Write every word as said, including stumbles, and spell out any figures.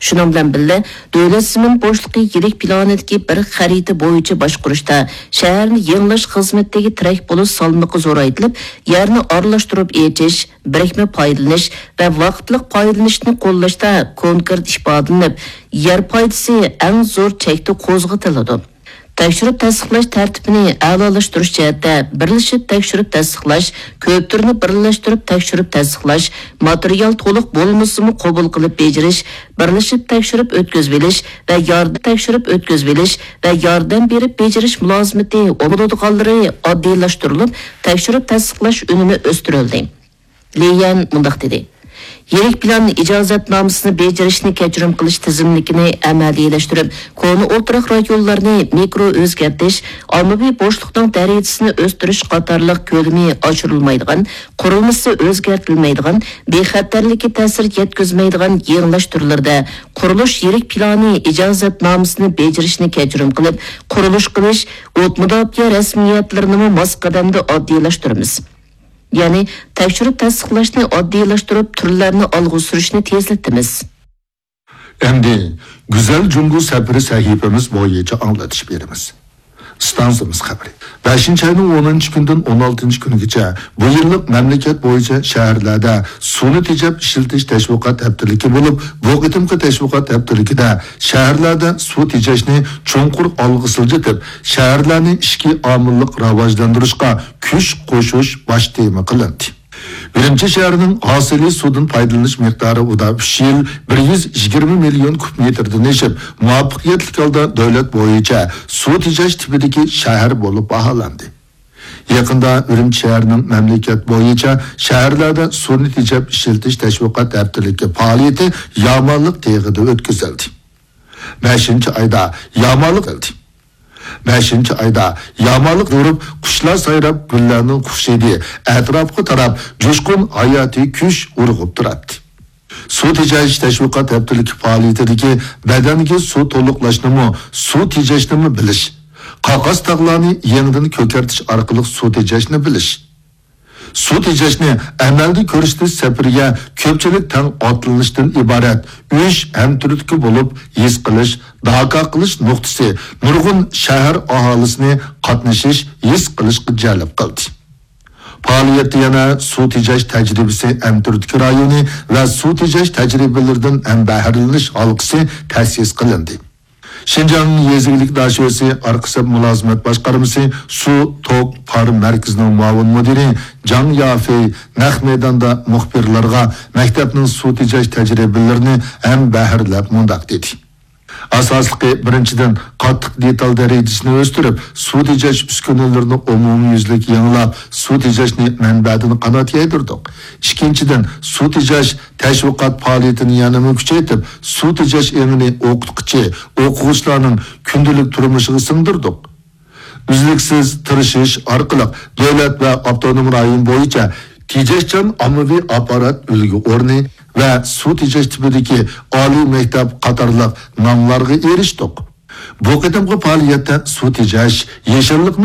شۇنىڭ بىلەن بىللە، دۆلەت زېمىن بوشلۇقى يىللىق پىلانىدىكى بىر خەرىتە بويىچە باشقۇرۇشتا شەھەرنى يېڭىلاش خىزمىتىدىكى تىرەك بولۇش سالمىقى زورايتىلىپ، يەرنى ئارىلاشتۇرۇپ ئېچىش، بىرىكمە پايدىلىنىش ۋە ۋاقىتلىق پايدىلىنىشنى قوللاشتا كونكرېت ئىپادىلىنىپ، يەر پايدىسى ئەڭ زور چەكتە قوزغىتىلىدۇ. تەكشۈرۈپ تەستىقلاش تەرتىپىنى ئەلالاشتۇرۇش جەھەتتە بىرلىشىپ تەكشۈرۈپ تەستىقلاش، كۆپ تۈرنى بىرلەشتۈرۈپ تەكشۈرۈپ تەستىقلاش، ماتېرىيال تولۇق بولمىسىمۇ قوبۇل قىلىپ بېجىرىش، بىرلىشىپ تەكشۈرۈپ ئۆتكۈزۈۋېلىش ۋە ياردەم تەكشۈرۈپ ئۆتكۈزۈۋېلىش ۋە ياردەم بېرىپ بېجىرىش مۇلازىمىتى بولىدىغانلىرى ئاددىيلاشتۇرۇلۇپ، تەكشۈرۈپ تەستىقلاش ئۈنۈمى ئۆستۈرۈلدى. لى يەن مۇنداق دېدى: يىرىك پىلان ئىجازەتنامىسىنى بېجىرىشنى كەچۈرۈم قىلىش تىزىملىكىنى ئەمەلىيلەشتۈرۈپ، كونا ئولتۇراق رايونلارنى مىكرو ئۆزگەرتىش، ئاممىۋى بوشلۇقنىڭ دەرىجىسىنى ئۆستۈرۈش قاتارلىق كۆلىمى ئاشۇرۇلمايدىغان، قۇرۇلمىسى ئۆزگەرتىلمەيدىغان، بىخەتەرلىككە تەسىر يەتكۈزمەيدىغان يېڭىلاش تۈرلىرىدە قۇرۇلۇش يىرىك پىلانى ئىجازەتنامىسىنى بېجىرىشنى كەچۈرۈم قىلىپ، قۇرۇلۇش قىلىش، ئوت مۇداپىئە رەسمىيەتلىرىنىمۇ ماس قەدەمدە ئاددىيلاشتۇرىمىز. يەنى تەكشۈرۈپ تەستىقلاشنى ئاددىيلاشتۇرۇپ، تۈرلەرنى ئالغا سۈرۈشنى تېزلىتىمىز. ئەمدى گۈزەل جۇڭگو سەپىرى سەھىپىمىز بويىچە ئاڭلىتىش بېرىمىز. ئىستانسىمىز خەۋىرى. بەشىنچى ئاينىڭ ئونىنچى كۈنىدىن ئون ئالتىنچى كۈنىگىچە بۇ يىللىق مەملىكەت بويىچە شەھەرلەردە سۇنى تېجەپ ئىشلىتىش تەشۋىقات ھەپتىلىكى بولۇپ، بۇ قېتىمقى تەشۋىقات ھەپتىلىكىدە شەھەرلەردە سۇ تېجەشنى چوڭقۇر ئالغا سىلجىتىپ، شەھەرلەرنى ئىچكى ئامىللىق راۋاجلاندۇرۇشقا كۈچ قوشۇش باش تېما قىلىندى. ئۈرۈمچى شەھىرىنىڭ ھاسىلى سۇدىن پايدىلىنىش مىقدارى ئۇدا ئۈچ يىل بىر يۈز يىگىرمە مىليون كۇب مېتىردىن ئېشىپ، مۇۋەپپەقىيەتلىك ھالدا دۆلەت بويىچە سۇ تېجەش تىپىدىكى شەھەر بولۇپ باھالاندى. يېقىندا ئۈرۈمچى شەھىرىنىڭ مەملىكەت بويىچە شەھەرلەردە سۇنى تېجەپ ئىشلىتىش تەشۋىقات ھەپتىلىكى پائالىيىتى يامانلىق تېغىدا ئۆتكۈزۈلدى. بەشىنچى ئايدا يامانلىق قىلدى. بەشىنچى ئايدا يامانلىق يورۇپ، قۇشلار سايراپ، گۈللەرنىڭ خۇشىدى ئەتراپقا تاراپ، جۇشقۇن ھاياتىي كۈچ ئۇرغۇپ تۇراتتى. سۇ تېجەش تەشۋىقات ھەپتىلىكى پائالىيىتىدىكى بەدەنگە سۇ تولۇقلاشنىمۇ، سۇ تېجەشنىمۇ بىلىش، قاقاس تاغلارنى يېڭىدىن كۆكەرتىش ئارقىلىق سۇ تېجەشنى بىلىش، سۇ تېجەشنى ئەمەلدە كۆرسىتىش سەپىرىگە كۆپچىلىك تەڭ ئاتلىنىشتىن ئىبارەت ئۈچ ھەمتۈرتكە بولۇپ ھېس قىلىش، داكا قىلىش نۇقتىسى نۇرغۇن شەھەر ئاھالىسىنى قاتنىشىش، ھېس قىلىشقا جەلپ قىلدى. پائالىيەتتە يەنە سۇ تېجەش تەجرىبىسى ھەمتۈرتكە رايونى ۋە سۇ تېجەش تەجرىبىلىرىدىن ھەمبەھىرلىنىش ھالقىسى تەسىس قىلىندى. شىنجاڭ يېزا ئىگىلىك داشۆسى ئارقا سەپ مۇلازىمەت باشقارمىسى سۇ توك پار مەركىزىنىڭ مۇئاۋىن مۇدىرى جاڭ يافېي نەق مەيداندا مۇخبىرلارغا مەكتەپنىڭ سۇ تېجەش تەجرىبىلىرىنى ھەمبەھىرلەپ مۇنداق دېدى: ئاساسلىقى، بىرىنچىدىن، قاتتىق دېتال دەرىجىسىنى ئۆستۈرۈپ، سۇ تېجەش ئۈسكۈنىلىرىنى ئومۇميۈزلۈك يېڭىلاپ، سۇ تېجەشنى مەنبەدىن قانات يايدۇردۇق. ئىككىنچىدىن، سۇ تېجەش تەشۋىقات پائالىيىتىنى يەنىمۇ كۈچەيتىپ، سۇ تېجەش ئېڭىنى ئوقۇتقۇچى، ئوقۇغۇچىلارنىڭ كۈندىلىك تۇرمۇشىغا سىڭدۈردۇق. ئۈزلۈكسىز تىرىشىش ئارقىلىق دۆلەت ۋە ئاپتونوم رايون بويىچە تېجەشچان ئاممىۋى ئاپپارات ئۈلگە ئورنى ۋە سۇ تېجەش تىپىدىكى ئالىي مەكتەپ قاتارلىق ناملارغا ئېرىشتۇق. بۇ قېتىمقى پائالىيەتتە سۇ تېجەش، يېشىللىق